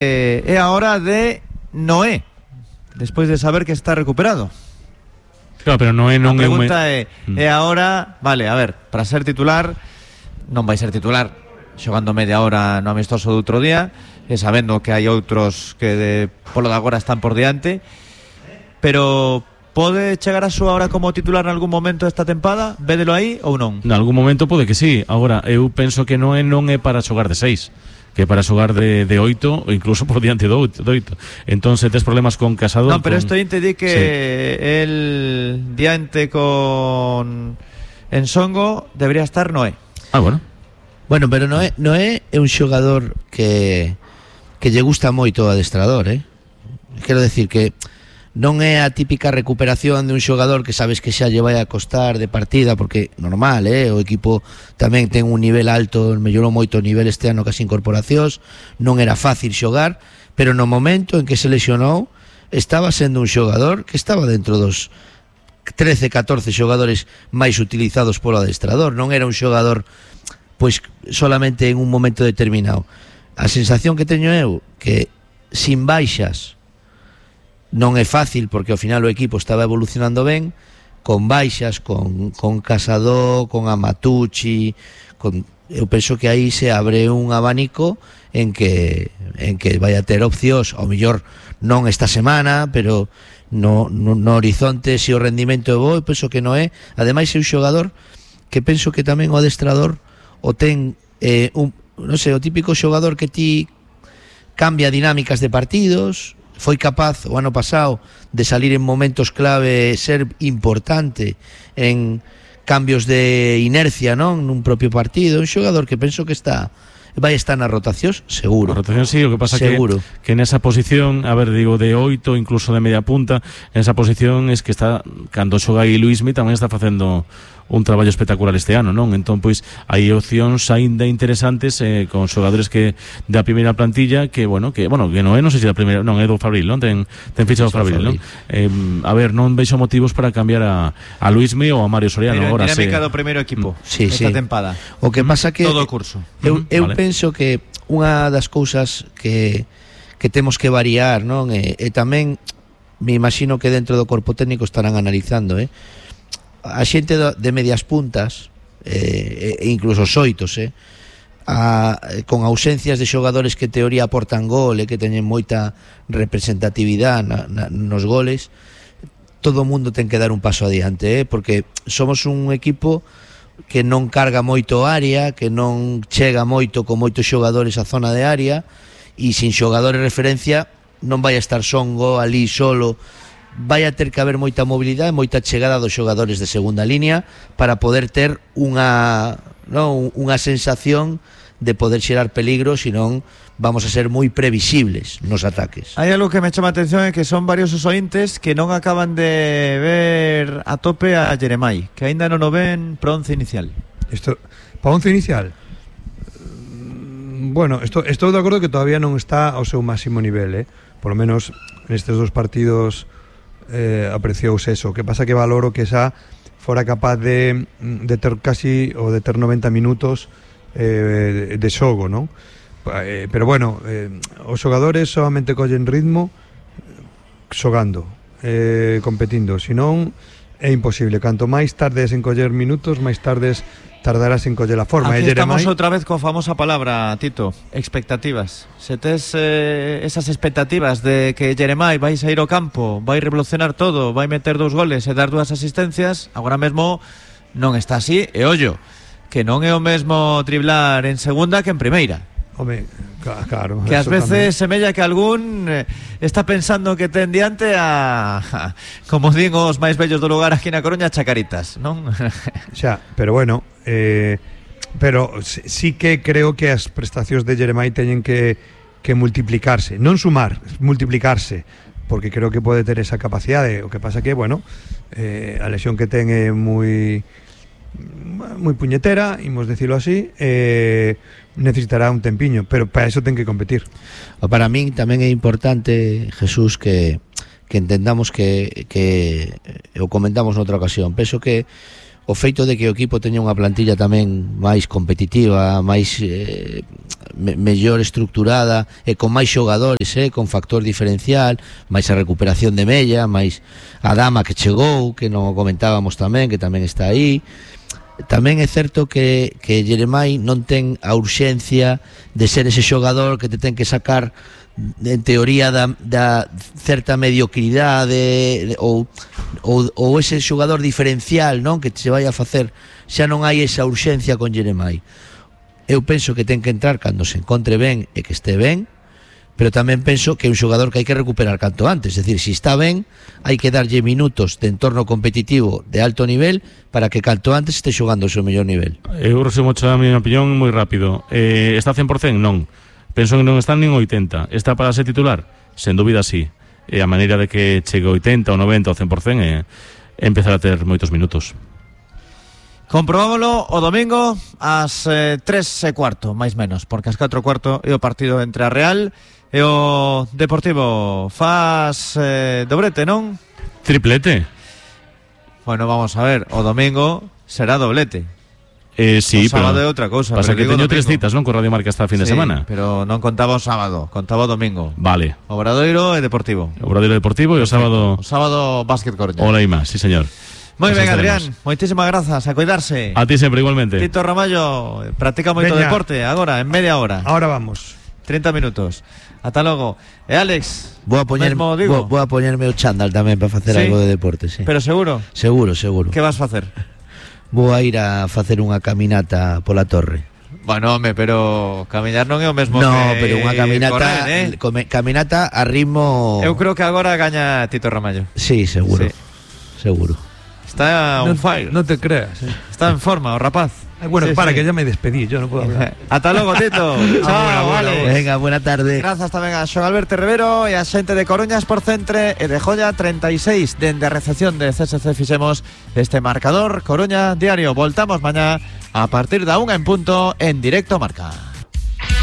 É a hora de Noé, despois de saber que está recuperado. Claro, pero Noé non é un... A pregunta é a hora... Vale, a ver, para ser titular, non vai ser titular xogando media hora no amistoso do outro día, e sabendo que hai outros que polo de agora están por diante, pero pode chegar a súa hora como titular en algún momento esta tempada? Védelo aí ou non? En algún momento pode que sí. Agora, eu penso que Noé non é para xogar de 6, que para xogar de 8 ou incluso por diante do 8. Entón, se tes problemas con Casado... Non, pero isto te di que sí, el diante con Ensongo debería estar Noé. Ah, bueno. Bueno, pero Noé é un xogador que lle gusta moito o adestrador, Quero decir que non é a típica recuperación de un xogador que sabes que xa lle vai a costar de partida, porque normal, o equipo tamén ten un nivel alto, mellorou moito o nivel este ano cas incorporacións, non era fácil xogar, pero no momento en que se lesionou estaba sendo un xogador que estaba dentro dos 13-14 xogadores máis utilizados polo adestrador, non era un xogador pois solamente en un momento determinado. A sensación que teño eu que sin baixas non é fácil, porque ao final o equipo estaba evolucionando ben, con baixas, con Casado, con Amatucci, eu penso que aí se abre un abanico en que vai a ter opcións, ao mellor non esta semana, pero no horizonte, se o rendimento é bo, eu penso que non é. Ademais é un xogador que penso que tamén o adestrador o ten non sei, o típico xogador que ti cambia dinámicas de partidos. Foi capaz o ano pasado de salir en momentos clave, ser importante en cambios de inercia, non? Nun propio partido, un xogador que penso que vai estar nas rotacións, seguro. Na rotación sí, o que pasa seguro. que nesa posición, a ver, digo, de 8, incluso de media punta, en esa posición es que está, cando xoga aí Luismi tamén está facendo un traballo espectacular este ano, non? Entón, pois, hai opcións aínda interesantes con xogadores que da primeira plantilla que non sei se da primeira, non, é do Fabril, non? Ten fichado Fabril, non? A ver, non veixo motivos para cambiar a Luismi ou a Mario Soriano. Pero agora dinámica do primeiro equipo esta tempada. O que pasa que todo o curso. Eu penso que unha das cousas que temos que variar, non? E tamén me imagino que dentro do corpo técnico estarán analizando, a xente de medias puntas e incluso os oitos con ausencias de xogadores que en teoría aportan gol e que teñen moita representatividade nos goles, todo o mundo ten que dar un paso adiante, porque somos un equipo que non carga moito área, que non chega moito con moitos xogadores á zona de área, e sin xogadores de referencia non vai a estar Songo ali solo. Vai a ter que haber moita mobilidade, moita chegada dos xogadores de segunda línea para poder ter unha sensación de poder xerar peligro, senón vamos a ser moi previsibles nos ataques. Hai algo que me chama a atención, é que son varios os ointes que non acaban de ver a tope a Jeremai, que aínda non o ven para once inicial. Para once inicial? Bueno, estou de acordo que todavía non está ao seu máximo nivel, por lo menos nestes dos partidos apreciouse eso. O que pasa que valoro que xa fora capaz de ter casi ou de ter 90 minutos de xogo, non? Pero bueno, os xogadores solamente collen ritmo xogando, competindo, senón é imposible. Canto máis tardes en coller minutos, máis tardes tardarás en coller a forma. Aquí estamos outra vez coa famosa palabra, Tito, expectativas. Se tes esas expectativas de que Jeremai vai sair ao campo, vai revolucionar todo, vai meter 2 goles e dar 2 asistencias, agora mesmo non está así, e ollo, que non é o mesmo driblar en segunda que en primeira. Home, claro. Que ás veces semella que algún está pensando que ten diante como din os máis vellos do lugar aquí na Coruña, chacaritas, non? Xa, pero bueno, pero sí que creo que as prestacións de Jeremai teñen que multiplicarse, non sumar, multiplicarse, porque creo que pode ter esa capacidade. O que pasa que, bueno, a lesión que ten é moi puñetera, imos decirlo así, necesitará un tempiño, pero para eso ten que competir. Para min tamén é importante, Jesús, que entendamos que o comentamos noutra ocasión. Penso que o feito de que o equipo teña unha plantilla tamén máis competitiva, máis mellor estructurada e con máis xogadores, con factor diferencial, máis a recuperación de Mella, máis a Dama que chegou, que non o comentábamos tamén, que tamén está aí. Tamén é certo que Jeremai non ten a urxencia de ser ese xogador que te ten que sacar en teoría da certa mediocridade ou ese xogador diferencial, non, que se vai a facer. Xa non hai esa urxencia con Jeremai. Eu penso que ten que entrar cando se encontre ben e que este ben, pero tamén penso que é un xogador que hai que recuperar canto antes. É dicir, se está ben, hai que darlle minutos de entorno competitivo de alto nivel para que canto antes este xogando o seu mellor nivel. Eu resumo a miña opinión moi rápido. Está 100%? Non. Penso que non está nin 80. Está para ser titular? Sen dúbida sí. E a maneira de que chegue 80 ou 90 ou 100% é empezar a ter moitos minutos. Comprobámoslo o domingo ás 3:15, máis menos, porque ás 4:15 é o partido entre a Real e o Deportivo. Faz dobrete, non? Triplete. Bueno, vamos a ver, o domingo será doblete. Sí, o sábado é outra cousa. Pasa que teño 3 citas, non, con Radio Marca esta fin de semana. Pero non contaba o sábado, contaba o domingo. Vale. Obradoiro e Deportivo. Obradoiro e Deportivo e o sábado... O sábado Básquet Coruña. Hola e máis, sí señor. Moi ben, Adrián, moitísimas grazas, a cuidarse. A ti sempre, igualmente. Tito Ramallo practica moito deporte agora, en media hora. Ahora vamos. 30 minutos. Ata logo. E Alex, vou a poñerme o chándal tamén para facer algo de deporte, sí. Pero seguro? Seguro. Que vas facer? Vou a ir a facer unha caminata pola torre. Bueno, home, pero camiñar non é o mesmo que pero unha caminata correr, caminata a ritmo. Eu creo que agora gaña Tito Ramallo. Sí, seguro. Sí. Seguro. Está on fire. No te creas. Está en forma o rapaz. Bueno, sí, que ya me despedí, yo no puedo hablar. Ata logo, Tito. Chao, vale. Venga, buena tarde. Grazas tamén a Xoán Alberto Rivero e a xente de Coruña Sport Centre e de Joya 36 dende a recepción de CSC fixemos este marcador Coruña Diario. Voltamos mañá a partir da 1 en punto en Directo Marca.